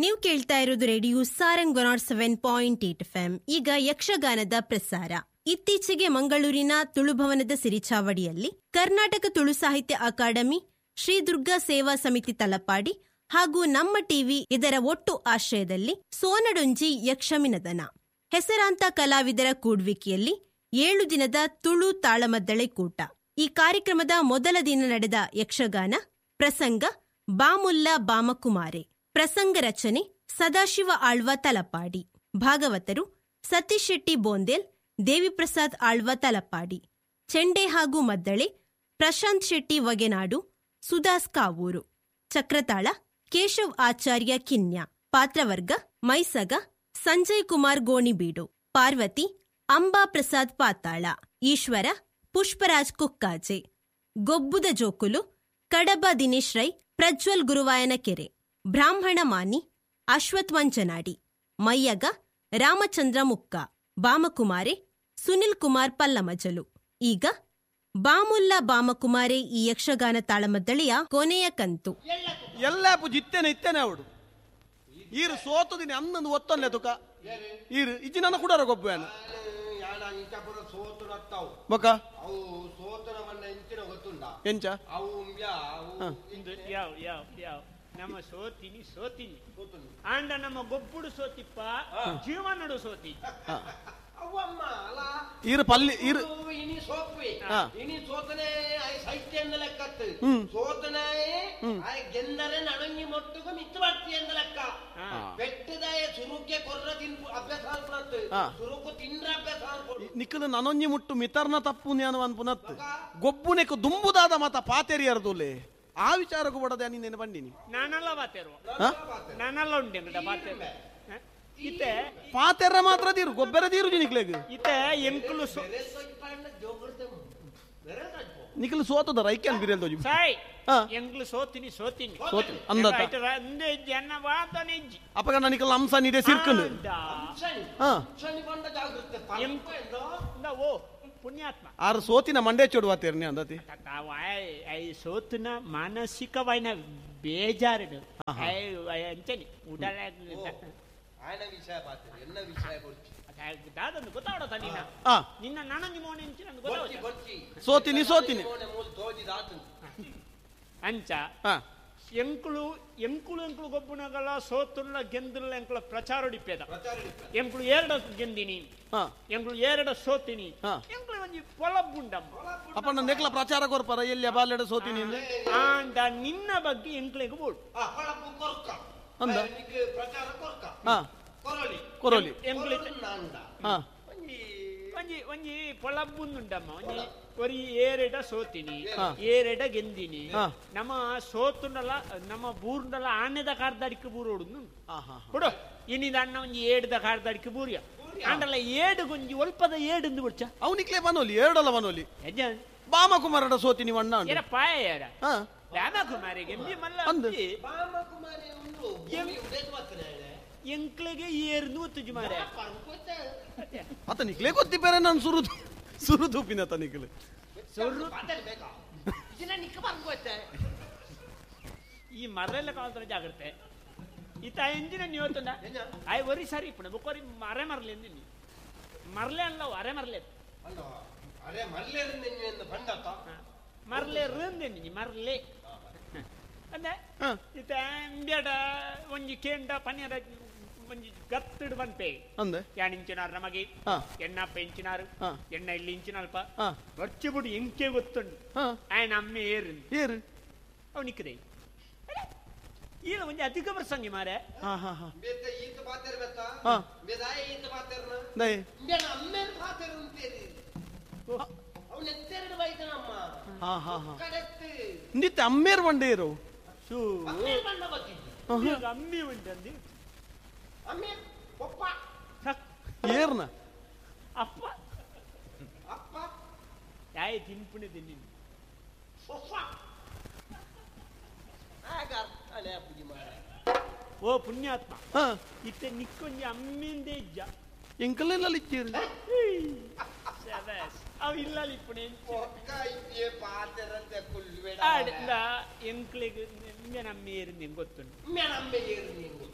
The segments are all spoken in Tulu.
ನೀವು ಕೇಳ್ತಾ ಇರೋದು radio Sarang 107.8 FM. ಈಗ ಯಕ್ಷಗಾನದ ಪ್ರಸಾರ. ಇತ್ತೀಚೆಗೆ ಮಂಗಳೂರಿನ ತುಳುಭವನದ ಸಿರಿಚಾವಡಿಯಲ್ಲಿ ಕರ್ನಾಟಕ ತುಳು ಸಾಹಿತ್ಯ ಅಕಾಡೆಮಿ, ಶ್ರೀ ದುರ್ಗಾ ಸೇವಾ ಸಮಿತಿ ತಲಪಾಡಿ ಹಾಗೂ ನಮ್ಮ ಟಿವಿ ಇದರ ಒಟ್ಟು ಆಶ್ರಯದಲ್ಲಿ ಸೋನಡೊಂಜಿ ಯಕ್ಷಮಿನದನ ಹೆಸರಾಂತ ಕಲಾವಿದರ ಕೂಡ್ವಿಕೆಯಲ್ಲಿ 7 ದಿನದ ತುಳು ತಾಳಮದ್ದಳೆ ಕೂಟ. ಈ ಕಾರ್ಯಕ್ರಮದ ಮೊದಲ ದಿನ ನಡೆದ ಯಕ್ಷಗಾನ ಪ್ರಸಂಗ ಬಾಮುಲ್ಲ ಬಾಮಕುಮಾರೆ. ಪ್ರಸಂಗ ರಚನೆ ಸದಾಶಿವ ಆಳ್ವ ತಲಪಾಡಿ, ಭಾಗವತರು ಸತೀಶ್ ಶೆಟ್ಟಿ ಬೋಂದೇಲ್, ದೇವಿಪ್ರಸಾದ್ ಆಳ್ವ ತಲಪಾಡಿ, ಚೆಂಡೆ ಹಾಗೂ ಮದ್ದಳೆ ಪ್ರಶಾಂತ್ ಶೆಟ್ಟಿ ವಗೆನಾಡು, ಸುದಾಸ್ ಕಾವೂರು, ಚಕ್ರತಾಳ ಕೇಶವ್ ಆಚಾರ್ಯ ಕಿನ್ಯಾ, ಪಾತ್ರವರ್ಗ ಮೈಸಗ ಸಂಜಯ್ ಕುಮಾರ್ ಗೋಣಿಬೀಡು, ಪಾರ್ವತಿ ಅಂಬಾ ಪ್ರಸಾದ್ ಪಾತಾಳ, ಈಶ್ವರ ಪುಷ್ಪರಾಜ್ ಕುಕ್ಕಾಜೆ, ಗೊಬ್ಬುದ ಜೋಕುಲು ಕಡಬ ದಿನೇಶ್ ರೈ, ಪ್ರಜ್ವಲ್ ಗುರುವಾಯನಕೆರೆ, ಬ್ರಾಹ್ಮಣ ಮಾನಿ ಅಶ್ವಥ್ ಮಂಜನಾಡಿ, ಮಯ್ಯಗ ರಾಮಚಂದ್ರ ಮುಕ್ಕ, ಬಾಮಕುಮಾರೆ ಸುನಿಲ್ ಕುಮಾರ್ ಪಲ್ಲಮಜಲು. ಈಗ ಬಾಮುಲ್ಲ ಬಾಮಕುಮಾರೆ ಈ ಯಕ್ಷಗಾನ ತಾಳಮದ್ದಳೆಯ ಕೊನೆಯ ಕಂತು. ಎಲ್ಲ ಜಿತ್ತೇನೆ ಇತ್ತೇನೆ ಅವಡು ಈರು ಸೋತುದಿನಿ ಅನ್ನೊಂದು ಒತ್ತೊನ್ಲೆ ತುಕ ಈರು ಇಜ್ಜಿ ನನ್ನ ಕುಡಾರ ಗೊಬ್ಬ ಬೊಕ್ಕ ಎಂಚ ನಮ್ಮ ಸೋತಿನಿ ಸೋತಿನಿ ಆಂಡ ನಮ್ಮ ಗೊಬ್ಬುಡು ಸೋತಿಪ್ಪ ಜೀವನಡು ಸೋತಿ ಈರು ಪಲ್ಲಿ ಈರು ಇನಿ ಸೋಪುವೆ ಇನಿ ಸೋತನೆ ಸೈತ್ಯ ಎಂದ ಲೆಕ್ಕತ್ತು ಸೋತನೆ ಗೆಂದರೆ ನಣಂಗಿ ಮೊಟ್ಟುಗು ಮಿತ್ತು ಬರ್ತಿ ಎಂದ ಲೆಕ್ಕ ಬೆಟ್ಟದಾಯ ಸುರುಕೆ ಕೊರ್ರ ತಿನ್ ಅಭ್ಯಾಸ ಅನ್ಪುನತ್ತು ಸುರುಕು ತಿಂದ್ರ ಅಭ್ಯಾಸ ಅನ್ಪುಡು ನಿಕ್ಕಲು ನನೊಂಜಿ ಮುಟ್ಟು ಮಿತರ್ನ ತಪ್ಪು ಜ್ಞಾನ ಅನ್ಪುನತ್ತು ಗೊಬ್ಬುನೆಕ್ಕು ದುಂಬುದಾದ ಮಾತ ಪಾತೆರಿಯರ್ದುಲೆ ಆ ವಿಚಾರಕ್ಕೂ ಬಡದೆ ನೀನೇನು ಬಂದಿನಿ ನಾನಲ್ಲ ಪಾತೆರು ನಾನಲ್ಲ ಉಂಡೆ ಪಾತೆರು ಇತ್ತೆ ಪಾತೆರ ಮಾತ್ರ ತೀರು ಗೊಬ್ಬರ ತೀರು ನಿಕ್ಲೆಗ್ ಇತ್ತೆ ಎಂಕುಲು ನಿಕ್ಲು ಸೋತದ ರೈಕ್ಯಾನ್ ಬಿರಿಯಲ್ ದೋಜಿ ಸಾಯ್ ಎಂಕ್ಲು ಸೋತಿನಿ ಸೋತಿನಿ ಸೋತಿನಿ ಅಂದತ ಅಂದೆ ಜನ ವಾದನೆ ಇಜ್ಜಿ ಅಪಗ ನಿಕಲ್ ಅಂಸ ನೀಡೆ ಸಿರ್ಕಂಡು ಹಾ ಓ ಪುಣ್ಯಾತ್ಮ ಆರು ಸೋತಿನ ಮಂಡೆ ಚೋಡುವ ತೇರ್ನಿ ಅಂದತಿ ಸೋತಿನ ಮಾನಸಿಕವಾಯಿನ ಬೇಜಾರು ಅಂಚನಿ ಉಡಲ ಆಯನ ವಿಷಯ ಪಾತ್ರೆ ಎನ್ನ ವಿಷಯ ಗೊತ್ತಿ ದಾದೊಂದು ಗೊತ್ತಾವಡ ನಿನ್ನ ನಿನ್ನ ನಾನೊಂದು ಮೋನೆ ಅಂಚಿ ನಂಗೆ ಗೊತ್ತಾವಡ ಸೋತಿನಿ ಸೋತಿನಿ ಅಂಚ ಎಂಕುಳು ಎಂಕುಳು ಎಂಕುಳು ಗೊಬ್ಬುನಗಳ ಸೋತುಲ್ಲ ಗೆಂದುಲ್ಲ ಎಂಕುಳ ಪ್ರಚಾರ ಡಿಪ್ಪೇದ ಎಂಕುಳು ಎರಡ ಗೆಂದಿನಿ ಎಂಕುಳು ಎರಡ ಸೋತಿನಿ ಎಂಕುಳು ಒಂಜಿ ಪೊಲಬ್ಬುಂಡಮ್ಮ ಅಪ್ಪ ನನ್ನ ನೆಕ್ಲ ಪ್ರಚಾರ ಕೊರ್ಪರ ಎಲ್ಲಿ ಬಾಲೆಡ ಸೋತಿನಿ ಆಂಡ ನಿನ್ನ ಬಗ್ಗೆ ಎಂಕ್ಲೆಗ್ ಬೋಡು ಅಂದ ಪ್ರಚಾರ ಕೊರ್ಕ ಕೊರೊಲಿ ಕೊರೊಲಿ ಒಂಜಿ ಒಂಜಿ ಪೊಲಬ್ಬುಂಡುಂಡಮ್ಮ ಒಂಜಿ ಒರಿ ಏರೆಡ ಸೋತಿನಿ ಏರೆಡ ಗೆಂದಿನಿ ನಮ್ಮ ಸೋತುಂಡಲ ನಮ್ಮ ಬೂರ್ಂಡಲ ಆನೆದ ಕಾರ್ದಡಿക്ക് ಬೂರೋಡು ಕೊಡು ಇನಿದ ಅಣ್ಣ ಒಂಜಿ ಏಡ್ದ ಕಾರ್ದಡಿക്ക് ಬೂರಿಯ ಆಂಡಲ ಏಡು ಗೊಂಜಿ ಒಲ್ಪದ ಏಡುಂದು ಬಿಡ್ಚ ಅವನಿಕ್ಲೆ ಬನೋಲಿ ಏಡಲ ಬನೋಲಿ ಬಾಮಕುಮಾರಡ ಸೋತಿನಿ ಅಣ್ಣ ಏರ ಪಾಯ ಏರ ರಾಮಕುಮಾರಿ ಗೆಂದಿ ಮಲ್ಲ ಬಾಮಕುಮಾರಿ ಉಂಡು ಎಂಕ್ಲೆಗೆ ಏರ್ನು ಒತ್ತುಜಿ ಮಾರೆ ಅತ ನಿಕ್ಲೆ ಗೊತ್ತಿ ಬೇರೆ ನಾನು ಸುರುದು ಸುರುದು ಪಿನ ನಿಕ್ಲೆ ಈ ಮರೆಲ್ಲ ಕಾಲ್ತರ ಜಾಗ್ರತೆ ಈತ ಎಂಜಿನ ನೀವು ಆಯ್ ಒರಿ ಸರಿ ಇಪ್ಪಣ ಬೊಕ್ಕೊರಿ ಮರೆ ಮರಲಿ ಎಂದಿನಿ ಮರಲೆ ಅಲ್ಲ ಅರೆ ಮರಲೆ ಅರೆ ಮರಲೆ ಮರಲೆ ರಂದೆಂದಿನಿ ಮರಲೆ ಅಂದೆ ಈತ ಅಂಬ್ಯಾಡ ಒಂಜಿ ಕೇಂಡ ಪನ್ಯರ ಒಂಜಿ ಗತ್ತಿಡು ಬಂತೆ ಅಂದೆ ಯಾನ್ ಇಂಚಿನಾರು ನಮಗೆ ಎಣ್ಣಪ್ಪ ಇಂಚಿನಾರು ಎಣ್ಣ ಇಲ್ಲಿ ಇಂಚಿನಲ್ಪ ಬರ್ಚಿ ಬಿಡು ಎಂಕೆ ಗೊತ್ತುಂಡು ಆಯನ ಅಮ್ಮೆ ಏರು ಏರು ಅವನಿಕ್ಕದೆ ಈಲ ಒಂಜಿ ಅಧಿಕ ಪ್ರಸಂಗಿ ಮಾರೆ ನಿತ್ಯ ಅಮ್ಮೇರ್ ಬಂಡೇರು ಅಮ್ಮಿ ಉಂಟಂದಿ ಏರ್ನ ಅಪ್ಪ ಅಪ್ಪ ಯಾಯ ತಿನ್ಪುಣೆ ತಿನ್ನಿ ಓ ಪುಣ್ಯಾತ್ಮ ಇತ್ತೆ ನಿಕ್ಕೊಂಜಿ ಅಮ್ಮಿಂದೇ ಇಜ್ಜ ಎಂಕಲೆಲ್ಲ ಇಚ್ಚೇರು ಅವು ಇಲ್ಲ ಇಪ್ಪುಣೆ ಎಂಕ್ಲೆಗ್ ಅಮ್ಮೆ ಏರು ನಿಂಗೆ ಗೊತ್ತುಂಟು ಅಮ್ಮೆ ಏರು ನಿಂಗೆ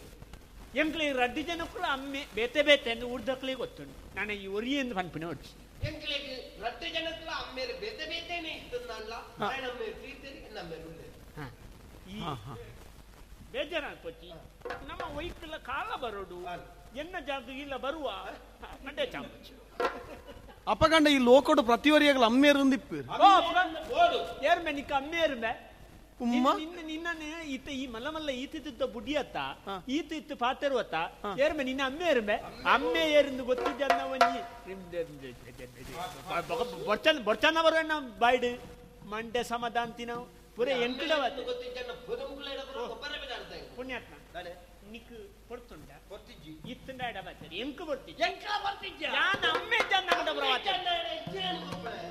ಎಂಕ್ಲೆ ರಡ್ಡು ಜನಕ್ಕೂ ಅಮ್ಮೆ ಬೇತೆ ಬೇತೆ ಅಂದ್ ಊರ್ದಕ್ಲೆ ಗೊತ್ತುಂಡು. ನಾನು ಈ ಒರಿ ಎಂದು ಪನ್ಪಿನ ಒಡ್ಚಿ. ಎಂಕ್ಲೆಗ್ ರಡ್ಡು ಜನಕ್ಕೂ ಅಮ್ಮೇರು ಬೇತೆ ಬೇತೆನೆ ಇತ್ತಂದಲ್ಲ. ಅಮ್ಮೇರು ತೀರ್ತೇರಿ ನಮ್ಮೇರು ಉಳ್ಳೇರು. ಈ ಬೇಜಾರಾಗ್ಪೊಚ್ಚಿ ನಮ್ಮ ವೈಕಲ ಕಾಲ ಬರೋಡು ಎನ್ನ ಜಾಗ ಇಲ್ಲ ಬರುವ ಮಂಡೆ ಚಾಂಪಚ್ಚಿ. ಅಪಗಂಡ ಈ ಲೋಕಡು ಪ್ರತಿವರಿಯಾಗಲ ಅಮ್ಮೇರು ಇಪ್ಪೇರು. ಏರ್ಮೆ ನಿಕ್ಕ ಅಮ್ಮೇರ್ಮೆ ಉಮ್ಮ? ನಿನ್ನ ನಿನ್ನನೆ ಈತ ಈ ಮಲ್ಲ ಮಲ್ಲ ಈತಿದ್ದ ಬುಡಿಯತ್ತ ಈತ ಇತ್ತು ಪಾತೆರುವತ್ತ ಏರ್ಮೆ ನಿನ್ನ ಅಮ್ಮೆ ಏರ್ಮೆ ಅಮ್ಮೆ ಏರಿಂದು ಗೊತ್ತಿದ್ದ ಒಂಜಿ ಬೊರ್ಚನ ಬೊರ್ಚನ ಬರುವಣ್ಣ ಬಾಯ್ಡು ಮಂಡೆ ಸಮಾಧಾಂತಿನ ಪೂರ ಎಂಕುಡವತ್ತು ಗೊತ್ತಿಜ್ಜಣ್ಣ ಪೊದಂಕುಲೆಡ ಪೂರ ಗೊಬ್ಬರ ಬಿಡಾಡ್ತಾ ಇದ್ರು. ಪುಣ್ಯಾತ್ಮ ನಾನೆ ನಿಕ್ ಪೊರ್ತುಂಡ ಗೊತ್ತಿಜ್ಜಿ. ಇತ್ತುಂಡ ಎಡ ಬಾತೇರಿ ಎಂಕು ಬರ್ತಿಜ್ಜಿ ಎಂಕ್ಲ ಬರ್ತಿಜ್ಜ. ಯಾನ್ ಅಮ್ಮೆ ಜನ್ನ ಬರವಾತೆ ಜನ್ನ ಎಡ ಇಜ್ಜಿ ಅನ್ಕೊಪ್ಪಳೆ.